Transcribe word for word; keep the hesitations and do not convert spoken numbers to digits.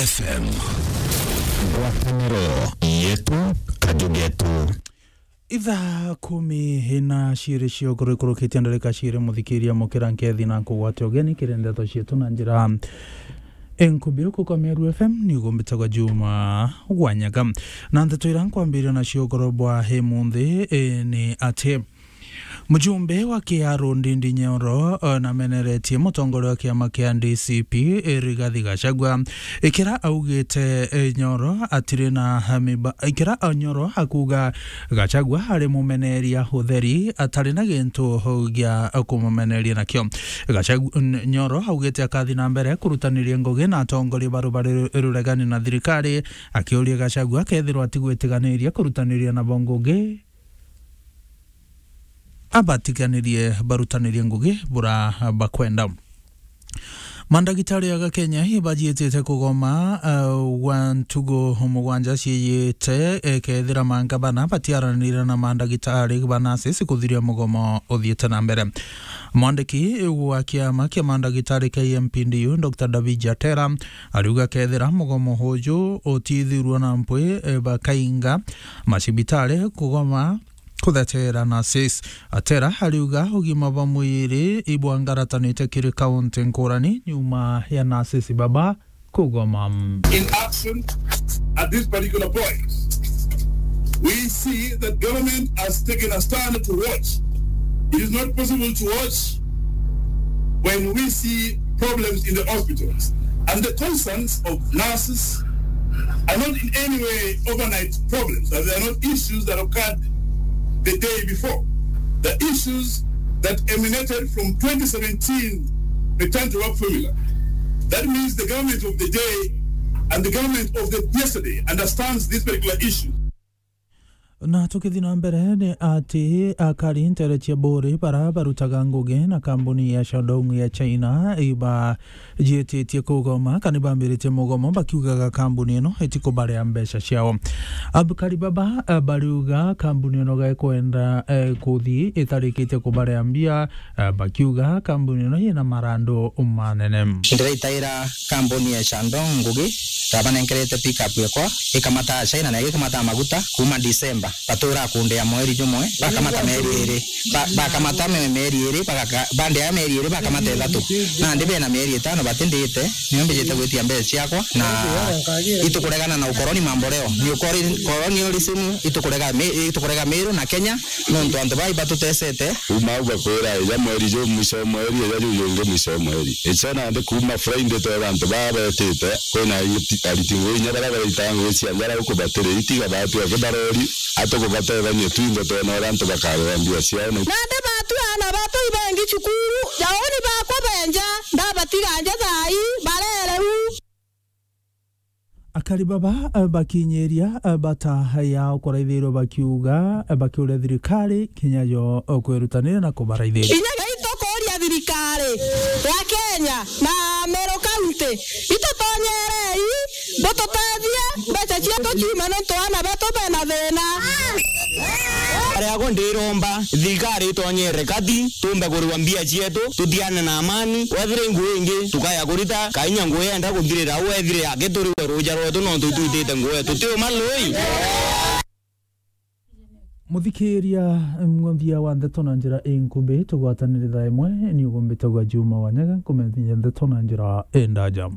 F M. Ngwataniro yetu, kaju getu. Ithaa kumi na ciiri cia ukuru ikurukitie ndarika ciiri, muthikiria, mukira nkethi na nkugwate ugeni kiri ndeto cietu na njira inkubi. Uku kwa Meru F M ni ugumbitagwa Juma Wanyaga. Na ndeto ira nkwambiria nacio ukuru bwa imunthi, e, ni ati mujumbe wa Kiaru Ndindi Nyoro, e, nameneretie mutongoria wa kiama kia D C P, e, Rigathi Gachagua, ikira augite, e, Nyoro atiri na miba-, ikira, e, Nyoro akuga Gachagua ari mumeneria utheri, atari na gintu gia kumumeneria nakio. Gachagua, N-, Nyoro augite akathi na mbere kurutaniria ngugi na atongoria baru bari ruregani na thirikari, akiuria Gachagua akethirwa atigwitiganiria kurutaniria nabo ngugi, abatiganirie barutanirie ngugi bura bakwenda. Mandagitari aga Kenya ibajiitite kugoma, uh, gwa ntugu mugwanja ciiyite, eh, kethira mangabana batiaranire na mandagitari ba nurses kuthiria mugomo uthiite na mbere. Mwandiki wa kiama kia mandagitari kia M P D U, Doctor David Jatera, ariuga kethira mugomo uju utithirwa na mpwi, eh, bakainga macibitari kugoma kuthetera nurses. Atera ariuga ugima bwa mwiri ibwangaratanite kiri kaunti nkurani nyuma ya nurses baba kugoma. In action at this particular point, we see that government has taken a stand to watch. It is not possible to watch when we see problems in the hospitals. And the concerns of nurses are not in any way overnight problems, and they are not issues that occurred the day before. The issues that emanated from twenty seventeen return to work formula. That means the government of the day and the government of the yesterday understands this particular issue. Na tukithi na mbere, ni ati akari ntere cia Buri bara barutaga ngugi na kambuni ya Shandong ya China ibajiititie kugoma, kana ibambiritie mugomo, bakiugaga kambuni ino itikubarea mbeca ciao. Abukari baba, eh, bariuga kambuni ino gekwenda, eh, kuthi itarikitie kubarea mbia, eh, bakiuga kambuni ino yina marandu manene. Ndiraitaira kambuni ya Shandong ngugi, ndabanenkerete pick up yakwa, ikamata China na ikamata maguta kuma December. Batura kundea mweri jumwe, bakamata meri iri. Ba-, bakamata me-, meri iri, bagaka-, bandea meri iri, bakamata ithatu. Nandi bena meri itano batindite, nio mbijite gwitia mbeca ciakwa, na itukuregana na ukoroni mambo leo. Ni ukori-, colonialism, itukurega mi-, itukurega Meru na Kenya, nontu antu bai batutesete. Kuma au bakwira, ija mweri ju mwisho wa mweri, ija ju jungi mwisho wa mweri. Icio nandi kuma Friday twera antu baa betite, kwina ariti, ariti ngugi inya baria baraitaga ngugi cia njara guku batiri, itiga batu aki barori, atukubatethania twinthe twona uria antu bakarera mbia ciao. Na nandi batu aana betu ibengi cukuru, jauni bakwa benja, ndabatiga nja thaa ii, barere u. Akari baba, eh, bakinyiria, eh, bata yao kuraithirwa bakiuga, eh, bakiuria thirikari kinya yo, eh, kwirutanira na kubaraithiria. Inya itukuria thirikari ya Kenya na Meru County, itutonyerei, bututethie, mbeca cietu ciume nontu aana betu bena thina. Ariago ndiromba thirikari itonyere kati, tumbe kuriwa mbia cietu, tutiane na amani. Wethire ngugi ingi tukaya kurita, kainya ngugi yenda kuthirira, au wethire yake turiwe ruja rwetu, nontu itwitite ngugi, tutiuma lui. Muthikiria, muthia wa ndeto na njira inkubi, tugwatanire thaa imwe, ni ugumbitagwa Juma Wanyaga, nkumenyithia ndeto na njira indaja.